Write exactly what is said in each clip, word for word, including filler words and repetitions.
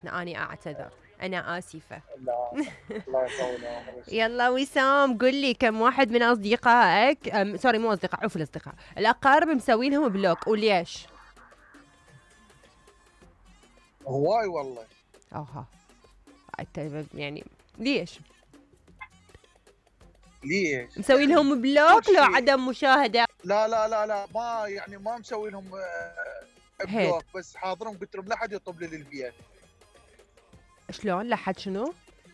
أني أعتذر، أنا آسفة. لا الله يطول عمرك. يلا وسام، قل لي كم واحد من أصدقائك أم سوري مو أصدقاء، عفوا الأصدقاء، الأقارب مسوين لهم بلوك وليش؟ هواي والله. أوها يعني ليش؟ ليش؟ مسوي لهم بلوك لو عدم مشاهدة؟ لا لا لا لا ما يعني ما مسوي لهم بلوك، بس حاضرهم قلت لهم لا حد يطب لي للبيت. شلون؟ لا حد شنو؟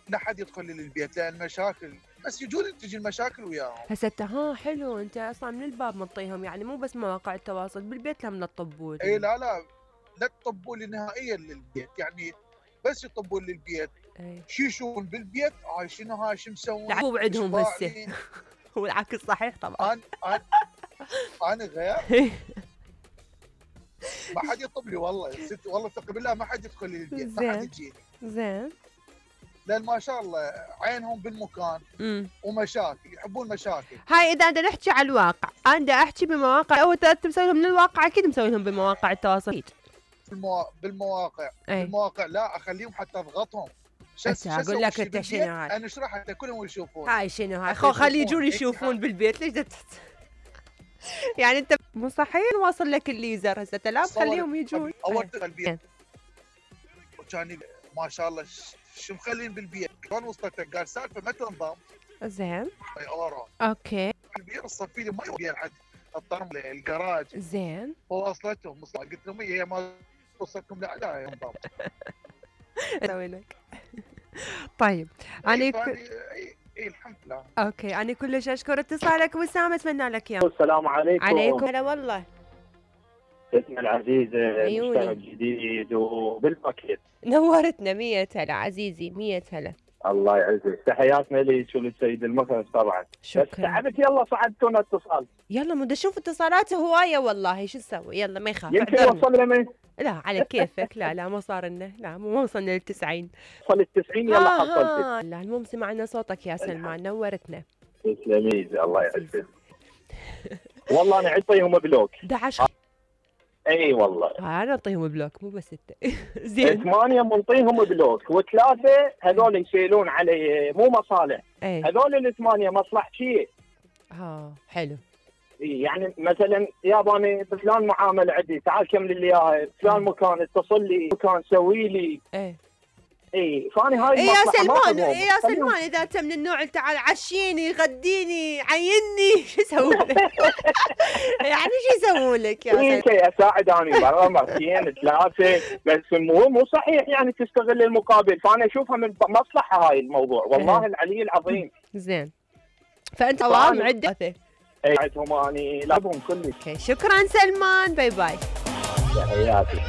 لا حد يدخل لي للبيت لان مشاكل، بس يجون تجي المشاكل وياهم. هسه ها حلو، انت اصلا من الباب منطيهم، يعني مو بس مواقع التواصل، بالبيت لهم لا تطبوا لي. اي لا لا لا تطبوا لي نهائيا للبيت، يعني بس يطبون للبيت. اي شو يشوفون بالبيت؟ هاي شنو هاي شو مسوون؟ لا مو عندهم هسه. هو العكس صحيح طبعا. انا انا انا غير ما حد يطب لي والله ست، والله ثق بالله ما حد يدخل لي البيت، ما حد يجيني. زين. لان ما شاء الله عينهم بالمكان. امم ومشاكل، يحبون مشاكل. هاي اذا بدنا نحكي على الواقع، انا بدي احكي بمواقع، اول ثلاث مسوي لهم من الواقع، اكيد مسوي لهم بمواقع التواصل. بالمو... بالمواقع أي. بالمواقع لا اخليهم حتى اضغطهم. هسه اقول لك انت شنو هاي؟ انا اشرح حتى كلهم يشوفون. هاي شنو هاي؟ خو خلي يجون يشوفون بالبيت، ليش دت... يعني انت مو صحيح واصل لك الليزر هسه لا خليهم يجون. اول البيت وكان ما شاء الله شو مخلين بالبيت، شلون وصلت؟ قال سالفه ما تنضم. زين اورا اوكي. البيت الصفي لي ما يبي لحد الطرم الجراج. زين وصلتهم، قلت لهم هي ما وصلتكم لا لا ينضم. اسوي لك. طيب انا كل... اي الحمد لله. اوكي انا كلش اشكر اتصالك وسام، اتمنى لك يوم. السلام عليكم. عليكم هلا والله. اسمي العزيز مشتغل جديد وبالباكيت. نورتنا. مية هلا عزيزي، مية هلا. الله يعزك، تحياتنا لك وللسيد المخرج طبعا. شكرا. بس تعبت يلا صعدتونا اتصال. يلا مو اشوف اتصالات هوايه والله، شو نسوي؟ يلا ما يخاف. يمكن وصل لنا. لا على كيفك. لا لا ما صار لنا، لا مو وصلنا للتسعين. وصل التسعين يلا حصلتك. لا المهم سمعنا صوتك يا سلمان، نورتنا. تسلمي الله يعزك. والله انا اعطيهم بلوك. أحد عشر. اي والله. انا اعطيهم بلوك مو بس انت. زين. ثمانية منطيهم بلوك، وثلاثة هذول يسيلون علي مو مصالح. اي هذول الثمانية مصلحتيه. اه حلو. يعني مثلا يابا انا بفلان معامله عندي، تعال كمل لي اياها، فلان مكان اتصل لي، مكان سوي لي. ايه اي فاني هاي إيه يا سلمان. إيه يا سلمان اذا انت من النوع اللي تعال عشيني غديني عيني، شو يسوون لك؟ يعني شو يسوون لك يا سلمان؟ إيه اساعد انا برا مرتين ثلاثه، بس مو مو صحيح يعني تستغل المقابل، فانا اشوفها من مصلحه هاي الموضوع والله العلي العظيم. زين فانت صواب عده. اي عندهم اني لابهم كلش. شكرا سلمان، باي باي. تحياتي.